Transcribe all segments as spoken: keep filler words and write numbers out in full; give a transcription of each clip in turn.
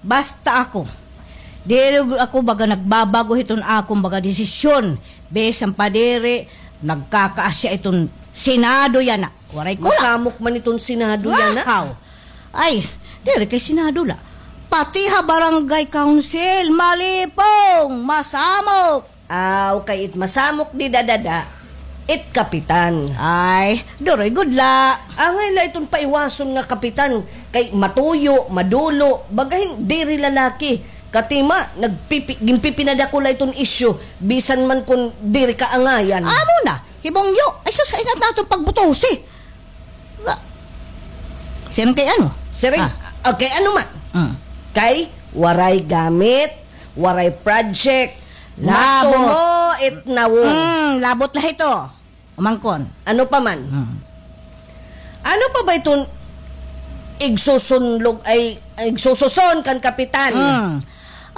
Basta ako, diri ako baga nagbabag-o hiton akon baga desisyon. Bisan pa diri, nagkakaasya iton Senado yana. Waray ko la. Masamok man iton Senado yana. Wow! Ay, diri kay Senado la. Pati ha barangay council, malipong, masamok. Aw, kay it masamok dida dada, it kapitan. Ay, duroy gud la. Angay la iton paiwason nga kapitan, kay matuyo, madulo, baga hin diri lalaki. Katima, nagpipi-, ginpipinadako la iton isyu, bisan man kon diri kaangayan. Amo na, hibongyo, ay sus, ay na aton pagbutusi. Wa-, siring kay ano? Siring, ah, okay, ano man? Mm. Kay, waray gamit, waray project, labot. Maso mo, it nawong. Mm, labot la hito. Umangkon. Ano pa man? Mm. Ano pa ba iton igsusunlog ay, igsususon kan kapitan? Mm.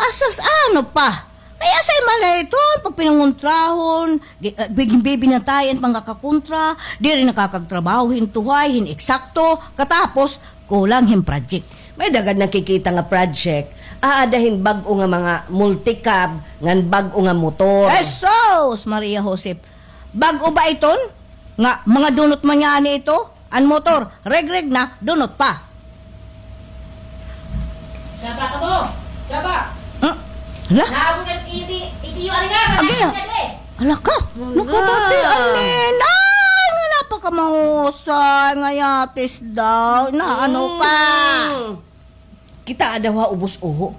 Asas, ano pa? May asay malay iton pagpinangontrahon, gi-, ah, big-, bibinatay an mga kakontra, diri nakakagtrabaho hin tuhay, hin eksakto, katapos kulang hin project. May daghan nakikita nga project, aada hin bag-o nga mga multicab, ngan bag-o nga motor. Jesus! Maria Josep, bag-o ba iton? Nga mga dunot man ngani ito? An motor, regreg na, dunot pa. Saba kamo! Saba! Hmm? Hala? Naabot an iti-, itiyo, ari nga, sa agi, naabot nga di. Hala ka? Hala. Nakabati an ninay nga napakamahusay nga yatis daw. Na, ano ka? Mm. Kitaa daw ha ubos uho.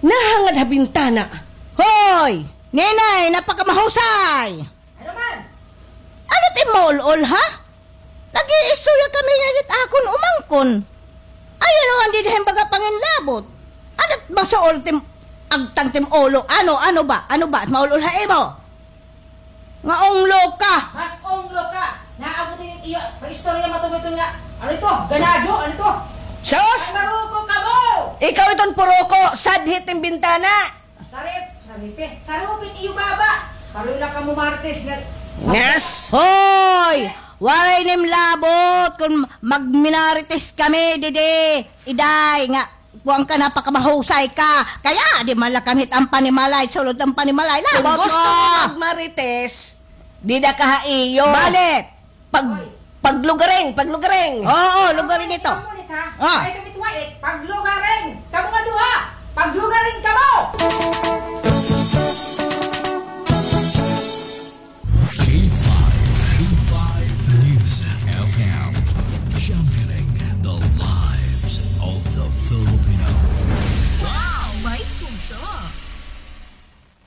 Nahangad ha bintana. Hoy! Ninay, napakamahusay! Ano man? Ano it im maul-ol, ha? Nag-iistorya kami nga it akon umangkon. Ay, ano nga dida hin baga panginlabot? Ano it masuol it im agtang it im ulo? Ano, ano ba? Ano ba it maul-ol ha imo? Nga unglo ka! Mas unglo ka! Naabot ini iyo, paistorya matumiton nga. Ano ito? Ganado? Ano ito? Sus! Ang maruko ka mo! Ikaw iton puruko, sadhit it im bintana! Sarip, saripit, sarupit iyo baba. Pareho la kamo marites nga. Ngas! Hoy! Waray nim labot kon magminarites kami didi. Iday nga, kuwan ka, napakamahusay ka. Kay aadi man la kami hit am panimalay, sulod am panimalay. Labot mo! Kon gusto mo magmarites, dida ka ha iyo. Balik! Pag-, paglugaring, paglugaring. Oo, lugaring ito. Ay, kami tuwa, eh. Paglugaring. Kamo nga duha. Paglugaring kamo. K five, K five News F M. Championing the lives of the Filipino. Wow, may puso.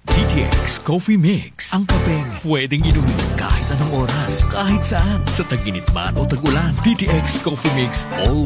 D T X Coffee Mix, ang kapeng pwedeng inumin kahit anong oras, kahit saan, sa tag-init man o tag-ulan. D T X Coffee Mix, all